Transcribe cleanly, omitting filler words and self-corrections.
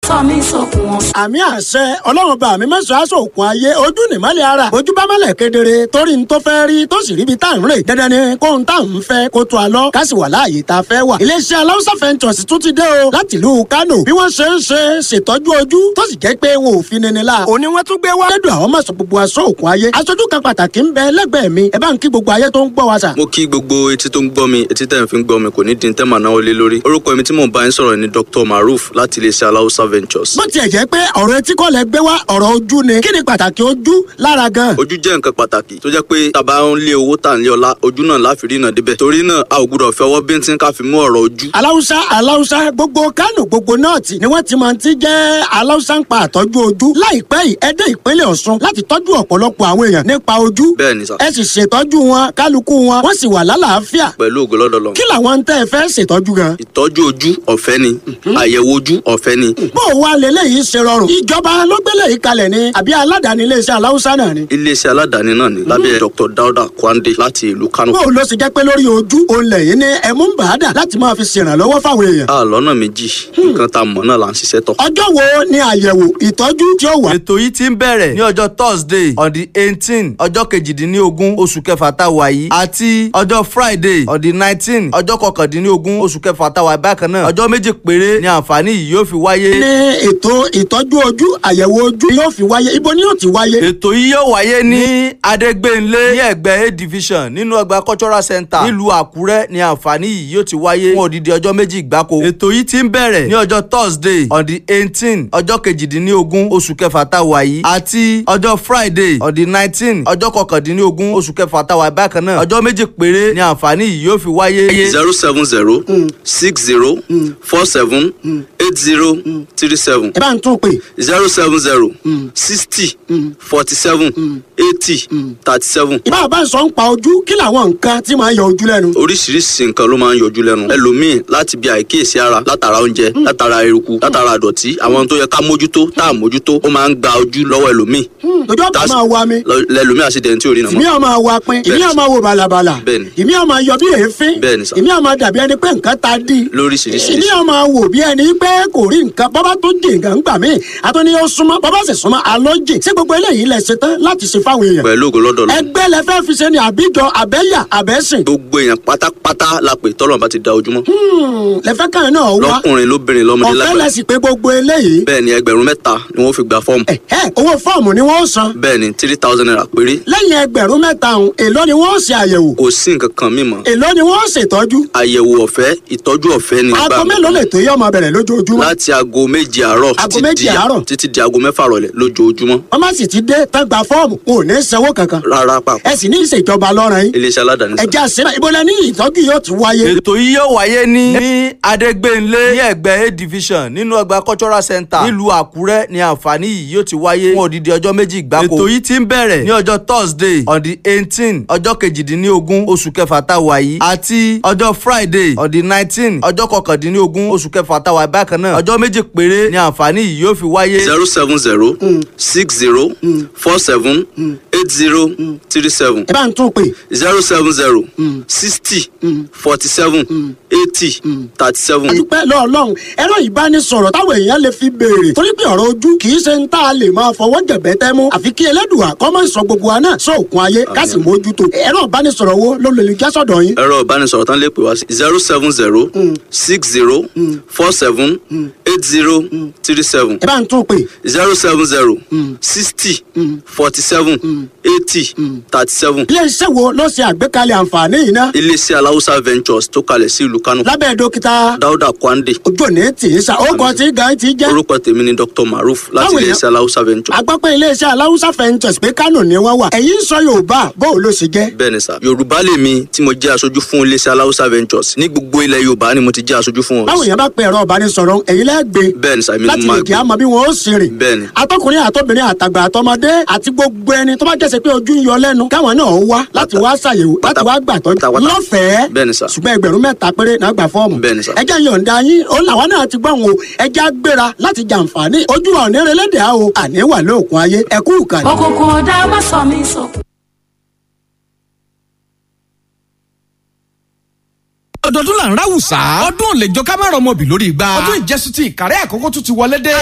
Sọ mí sókun ọ̀sán. Àmì àṣẹ Ọlọ́run bá mi mẹ́sàn-án aṣọ òkun ayé ojú nìmọ́lẹ̀ ara ojú bá mọ́lẹ̀ kedere torí n tó fẹ́ rí tó sì ríbi tá à ń rè dandan ni kóhun tá à ń fẹ́ kó tó a lọ ká sì wà láàyè tá a fẹ́ wà. Iléeṣẹ́ Aláùsá Ventures tún ti dé o láti ìlú Kánò bí wọ́n ṣe ń ṣe ṣètọ́jú ojú tó sì jẹ́ pé wọn ò fi nini la òní wọ́n tún gbé wá. Lẹ́dùn àwọn mọ̀sán gbogbo aṣọ òkun ayé aṣojú kan pàtàkì ń bẹ lẹ́gbẹ̀ẹ́ mi, ẹ bá ń kí gbogbo ayé tó ń gbọ́ wa sà. Mo kí gbogbo etí tó ń gbọ́ mi, etí tẹ̀ ń fi ń gbọ́ mi kò ní di tẹ́ màá náwó lé lórí. Orúkọ mi tí mò ń bá yín sọ̀rọ̀ ni Dr. Maruf láti iléeṣẹ́ Aláùsá Ventures. Bó tiẹ̀ jẹ́ pé ọ̀rọ̀ etí kọ́ lẹ gbé wá, ọ̀rọ̀ ojú ni, kí ni pàtàkì ojú lára gan? Ojú jẹ́ nǹkan pàtàkì tó jẹ́ pé tá a bá ń lé owó tà ń lé ọlá, ojú náà láfi rí náà débẹ̀. Torí náà a ò gbúdọ̀ fi ọwọ́ bíntín ká fi mú ọ̀rọ̀ ojú. Aláùsá, Aláùsá, gbogbo Kánò, gbogbo nọ́ọ̀tì ni wọ́n ti máa ti jẹ́ Aláùsá ń pa àtọ́jú ojú. Láìpẹ́ yìí ẹ dé ìpínlẹ̀ Ọ̀ṣun láti tọ́jú ọ̀pọ̀lọpọ̀ àwọn èèyàn nípa ojú. Bẹ́ẹ̀ ni sà. Ẹ sì ṣètọ́jú wọn, kálukú wọn wọ́n sì wà lálàáfíà. Pẹ̀lú ògo lọ́dọ̀ Ọlọ́run. Kí làwọn ń tẹ́ ẹ fẹ́ ṣètọ́jú gan? Ìtọ́jú ojú ọ̀fẹ́ ni, àyẹ̀wò ojú ọ̀fẹ́ ni. Bó o wá leléyìí ṣe rọrùn, ìjọba ló gbélé yìí kalẹ̀ ni àbí aládàáni iléeṣẹ́ Aláùsá náà ni? Iléeṣẹ́ aládàáni náà ni lábẹ́ Dr. Dauda Kwande láti ìlú Kano. Bó o lọ sì jẹ́ pé lórí ojú òun lẹ́yìn ní ẹ̀mú ń bàá dà láti máa fi ṣèrànlọ́wọ́ fáwọn èèyàn. A lọ́nà méjì, nǹkan tá a mọ̀ náà là ń ṣiṣẹ́ tọ̀. Ọjọ́ wo ni àyẹ̀wò ìtọ́jú tí ó wà? Ètò yìí ti ń bẹ̀rẹ̀ ní ọjọ́ Thursday on the 18 ọjọ́ 18 oṣù kẹfà tá a wà yìí àti ọjọ́ Friday on the 19 ọjọ́ 19 oṣù kẹfà tá a wà bákan náà. Ọjọ́ 2 péré ni àǹfààní yìí yóò fi wáyé. Ní ètò ìtọ́jú ojú, àyẹ̀wò ojú yóò fi wáyé, ibo ni yóò ti wáyé? Ètò yìí yóò wáyé ní Adégbénlé ní ẹ̀gbẹ́ A division nínú ọgbà cultural center nílùú Àkúrẹ́ ni àǹfààní yìí yóò ti wáyé fún odidi ọjọ́ 2 gbáko. Ètò yìí ti ń bẹ̀rẹ̀ ní ọjọ́ Thursday on the 18 ọjọ́ 18 oṣù kẹfà tá a wà yìí àti ọjọ́ Friday on the 19 ọjọ́ 19 oṣù kẹfà tá a wà bákan náà. Ọjọ́ 2 péré ni àǹfààní yìí yóò fi wáyé. 07060478037. Ẹ bá ń tún pè. 07060478037. Ìbá bá ń sọ ń pa ojú, kí làwọn nǹkan tí máa ń yọ ojú lẹ́nu? Oríṣiríṣi nǹkan ló máa ń yọjú lẹ́nu. Ẹlòmíì láti bí àìkíyèsí ara, látara oúnjẹ, látara eruku, látara àdọ̀tí, àwọn tó yẹ ká mójútó tá à mójútó, ó máa ń gba ojú lọ́wọ́ ẹlòmíì. Ojú ọ̀pá máa wa mi. Lẹlòmíì àṣìdẹ̀ntì ò rí nà Ìmí mọ́. ọ̀ máa wa pin, ìmí ọ̀ máa wo bàlàbàlà, Bẹ́ẹ̀ni. ìmí ọ̀ máa yọ bí èéfín, Bẹ́ẹ̀ni sà. ìmí ọ̀ máa dàbí ẹni pé nǹkan ta dí. Lóríṣiríṣi. Ìmí ọ̀ máa wò bí ẹni pé kò rí nǹkan, bọ́bá tó jì nǹkan ń gbà mí, àtúní ó súnmọ́, bọ́bá sì súnmọ́, àlọ́ jì. Ṣé gbogbo eléyìí lẹ ṣe tán láti ṣe fáwọn èèyàn? Pẹ̀lú ògo lọ́dọ̀ Ọlọ́run. Ẹgbẹ́ lẹ fẹ́ fi ṣe ni àbíjọ àbẹ́yà àbẹ́sìn? Gbogbo èèyàn pátápátá la pè tọ́lọ́run bá ti da ojúmọ́. Lẹ fẹ́ kàn náà wá. Lọ́kùnrin, lóbìnrin, lọ́mọdé, Ọ̀fẹ́ lágbàá. lẹ sì pé gbogbo eléyìí. Bẹ́ẹ̀ ni, 3,000 ni wọ́n fi gba fọ́ọ̀mù. Ẹ̀hẹ́, owó fọ́ọ̀mù ni wọ́n san? Bẹ́ẹ̀ ni, ₦3,000 péré. Lẹ́yìn 3,000 ọ̀hún, èló ni wọ́n ṣe àyẹ̀wò? Kò sí nǹkan kan mímọ́. Èló ni wọ́n ṣètọ́jú? Àyẹ̀wò ọ̀fẹ́, ìtọ́jú ọ̀fẹ́ ni. Aago mélòó lè tó yọ ọmọ bẹ̀rẹ̀ lójoojúmọ́? Láti aago 7 àárọ̀ Aago títí 7 àárọ̀. títí di aago 6 rọ̀lẹ́ lójoojúmọ́. Wọ́n má sì ti dé tán gba fọ́ọ̀mù, wọn ò ní sanwó kankan. Rárá pàpà. Ẹ sì ní ìṣèjọba lọ́rùn yín. Iléeṣẹ́ aládàáni sà. Ẹja sílẹ̀, ibo lẹ ní ìtọ́jú yóò ti wáyé? Ètò yìí yóò wáyé ní Adégbénlé ní ẹ̀gbẹ́ A division nínú ọgbà cultural center nílùú Àkúrẹ́ ni àǹfààní yìí yóò ti wáyé fún odidi ọjọ́ 2 gbáko. Ètò yìí ti ń bẹ̀rẹ̀ ní ọjọ́ Thursday on the 18 ọjọ́ 18 oṣù kẹfà tá a wà yìí àti ọjọ́ Friday on the 19 ọjọ́ 19 oṣù kẹfà tá a wà bákan náà. Ọjọ́ 2 péré ni àǹfààní yìí yóò fi wáyé. 07060478037. Ẹ bá ń tún pè. 07060478037. Dúpẹ́ lọ́ọ̀lọ́run, ẹ̀rọ ìbánisọ̀rọ̀ táwọn èèyàn lè fi béèrè torí pé ọ̀rọ̀ ojú kì í ṣe ń tá a lè máa fọwọ́ jẹ̀bẹ́ tẹ́ mú, àfi kí Ẹlẹ́dùà kó má sọ gbogbo wa náà sóòkun ayé ká sì mójútó. Ẹ̀rọ ìbánisọ̀rọ̀ wo ló lè já sọ̀dọ̀ yín? Ẹ̀rọ ìbánisọ̀rọ̀ tán lè pè wá sí 07060478037. Ẹ bá ń tún pè. 07060478037. Iléeṣẹ́ wo ló ṣe àgbékalẹ̀ àǹfààní yìí ná? Iléeṣẹ́ Aláùsá Ventures tó kalẹ̀ sí ìlú Kánò. Lábẹ́ dókítà Dáúdà Kwande. Ojú òní tì í sa ó kọ tí gan ti jẹ́. Orúkọ tèmi ni Dr. Maruf láti Báwo ni- iléeṣẹ́ Aláùsá Ventures. Agbọ́pẹ́ iléeṣẹ́ Aláùsá Ventures pé Kánò ni wọ́n wà, ẹ̀yin ń sọ Yorùbá, bóun ló ṣe jẹ́? Bẹ́ẹ̀ ni sà, Yorùbá lèmi tí mo jẹ́ aṣojú fún iléeṣẹ́ Aláùsá Ventures ní gbogbo ilẹ̀ Yorùbá ni mo ti jẹ́ aṣojú fún wọn. Báwo yẹn bá pe ẹ̀rọ ìbánisọ̀rọ̀, ẹ̀yin lẹ́gbẹ̀ẹ́? Bẹ́ẹ̀ ni sà, èmi ni Láti mo lè máa kí gbé. a mọ bí wọn ó sì rìn. Bẹ́ẹ̀ ni. Atọkùnrin àtọbìnrin àtàgbà àtọmọdé àti gbogbo ẹni tó bá jẹ́sẹ̀ pé ojú ń yọ lẹ́nu, káwọn náà wá láti wá ṣàyẹ̀wò, láti wá gbàtọ́jú pátápátá. lọ́fẹ̀ẹ́. Bẹ́ẹ̀ ni sà. Ṣùgbọ́n 3,000 péré náà gbà fọ́ọ̀mù. Bẹ́ẹ̀ ni sà. Ẹ jẹ́ yọ̀ǹda yín ó làwọn náà ti gbọ́n o, ẹ jẹ́ á gbéra láti jàǹfààní ojú wa òní relédè á o, àní wà lóòkun ayé, ẹ kú ìkànnì. Òkùnkùn ọ̀dà má sọ mí sókun. Ọdọọdún là ń ráwùsá, ọdún ò lè jọ ká má rọmọbì lórí igba. Ọdún ìjẹsùn ti Ìkàrẹ́ Àkókò tún ti wọlé dé.